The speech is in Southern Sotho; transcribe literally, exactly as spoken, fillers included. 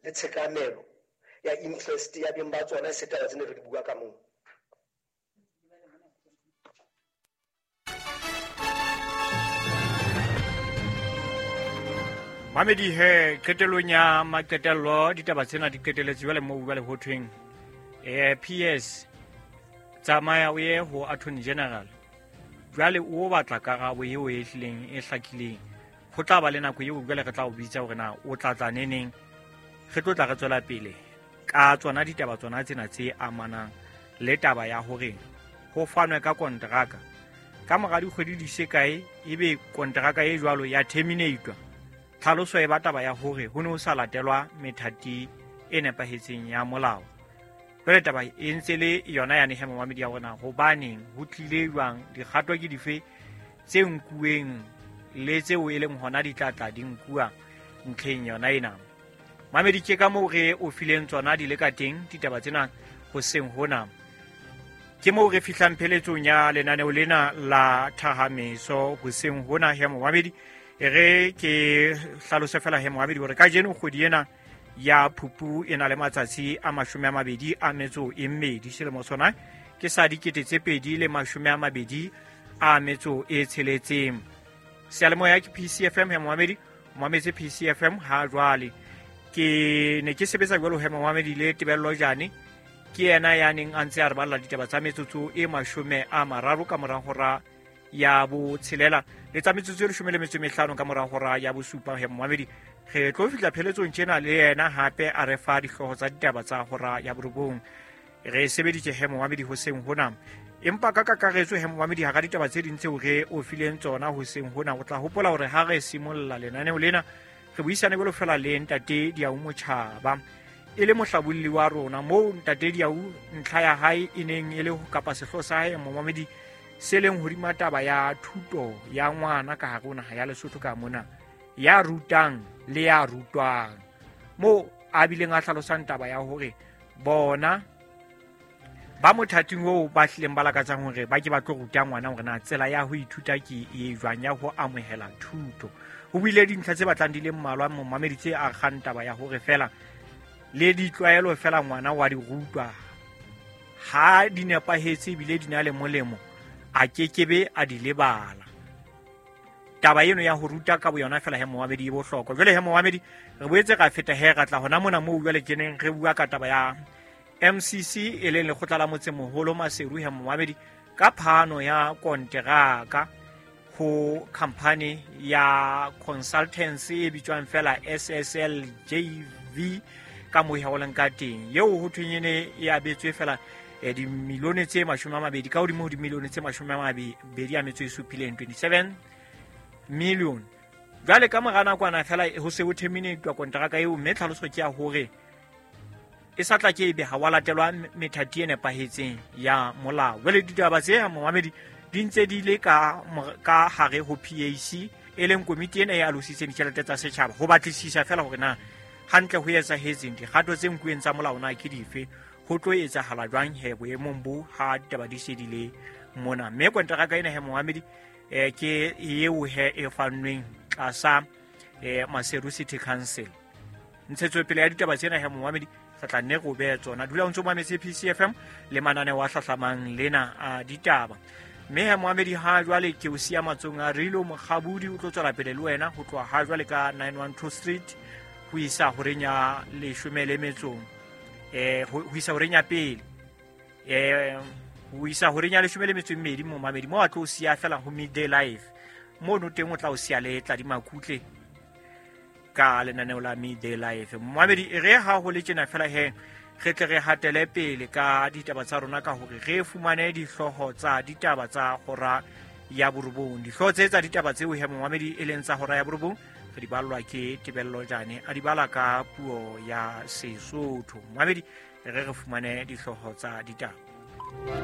Le tshekamelo ya interest ya beng ba tsona e se taba tsene re di bua ka moo. Mamedi he qetellong ya maqetello ditaba tsena di qetelletse jwale moo jwale ho thweng eh P S tsamaya o ye ho Attorney General jwale o batla karabo eo e hlileng e hlakileng. Ho tla ba le nako eo jwale re tla o bitsa hore na o tla tla neneng, re tlo tla re tswela pele ka tsona ditaba tsona tsena tse amanang le taba ya hore ho fanwe ka kontraka ka mora dikgwedi di se kae ebe kontraka e jwalo ya terminatwa. Tlhaloso e ba taba ya hore ho ne ho sa latelwa methati e nepahetseng ya molao. Jwale taba e ntse le yona yane he momamedi ya rona, hobaneng ho tlile jwang, dikgato ke dife tse nkuweng le tseo e leng hona di tla tla di nkuwa ntlheng yona ena. Mamedi ke ka moo re o fileng tsona di le ka teng ditaba tsena hoseng hona. Ke moo re fihlang pheletsong ya lenaneo lena la Thahameso hoseng hona he momamedi. Re ke hlalose fela he momamedi hore kajeno kgwedi ena ya Phupu e na le matsatsi a mashome a mabedi a metso e mmedi, selemo sona ke sa dikete tse pedi le mashome a mabedi a metso e tsheletseng. Seyalemoya ke P C F M he momamedi, o mametse P C F M ha jwale. Ke ne ke sebetsa jwalo he momamedi le Tebello Jane, ke yena ya neng a ntse a re balla ditaba tsa metsotso e mashome a mararo ka mora hora ya botshelela le tsa metsotso e leshome le metso e mehlano ka mora hora ya bosupa he momamedi. Re tlo fihla pheletsong tjena le yena hape a re fa dihlooho tsa ditaba tsa hora ya borobong. Re sebeditse he momamedi hoseng hona, empa ka kakaretso he momamedi hara ditaba tse ding tseo re o fileng tsona hoseng hona, o tla hopola hore ha re simolla lenaneo lena re buisane jwalo fela le ntate Diau Motjhaba e le mohlabolli wa rona, moo ntate Diau ntlha ya hae e neng e le kapa sehlooho sa hae momamedi se leng hodima taba ya thuto ya ngwana ka hare ho naha ya Lesotho ka mona, ya rutang le ya rutwang, moo a bileng a hlalosang taba ya hore bona ba mothating oo ba hlileng ba lakatsang hore ba ke ba tlo ruta ngwana hore na tsela ya ho ithuta ke e jwang, ya ho amohela thuto. Ho buile dintlha tse batlang di le mmalwa momamedi tse akgang taba ya hore fela le ditlwaelo fela ngwana wa di rutwa ha di nepahetse ebile di na le molemo, a kekebe a di lebala. Taba eno ya ho ruta ka boyona fela he momamedi e bohlokwa. Jwale he momamedi re boetse ra feta he ra tla hona mona moo jwale ke neng re bua ka taba ya M C C e leng lekgotla la motsemoholo Maseru he momamedi ka phano ya konteraka ho company ya consultancy e bitswang fela S S L J V ka moo ho leng ka teng, eo ho thweng ene e abetswe fela e dimilione tse mashome a mabedi ka hodimo ho dimilione tse mashome a mabedi a metso e supileng, twenty-seven million. Jwale ka mora nakwana fela ho se ho terminate kontraka eo, mme tlhaloso ke ya hore e sa tla ke ebe ha wa latelwa methati e nepahetseng ya molao. Jwale ditaba tse ha momamedi di ntse di le ka ka hare ho P A C e leng komiti ena e alositseng ditjhelete tsa setjhaba ho batlisisa fela hore na hantle ho etsahetseng, dikgato tse nkuweng tsa molao na ke dife, ho tlo etsahala jwang he boemong bo ha ditaba di se di le mona. Mme kontraka ena he momamedi eh ke eo he e fannweng tlasa eh Maseru City Council. Ntshetsopele ya ditaba tsena he momamedi re tla nne re behe tsona. Dula o ntso mametse P C F M le mananeo a hlahlamang lena a ditaba. Mme he momamedi ha jwale ke o siya matsong a Rilo Mokgabudi, o tlo tswela pele le wena ho tloha ha jwale ka nine one two Street ho isa horeng ya leshome le metso eh ho isa horeng ya pele eh ho isa horeng ya leshome le metso e mmedi momamedi, mo a tlo o siya fela ho Midday Life mono teng o tla o siya le tla di makutle ka lenaneo la Midday Life. Momamedi e re ha ho le tjena fela he re tle re hatele pele ka ditaba tsa rona ka hore re fumane dihlooho tsa ditaba tsa hora ya borobong. Dihlooho tse tsa ditaba tseo he momamedi e leng tsa hora ya borobong re di ballwa ke Tebello Jane a di bala ka puo ya Sesotho. Momamedi re re fumane dihlooho tsa ditaba.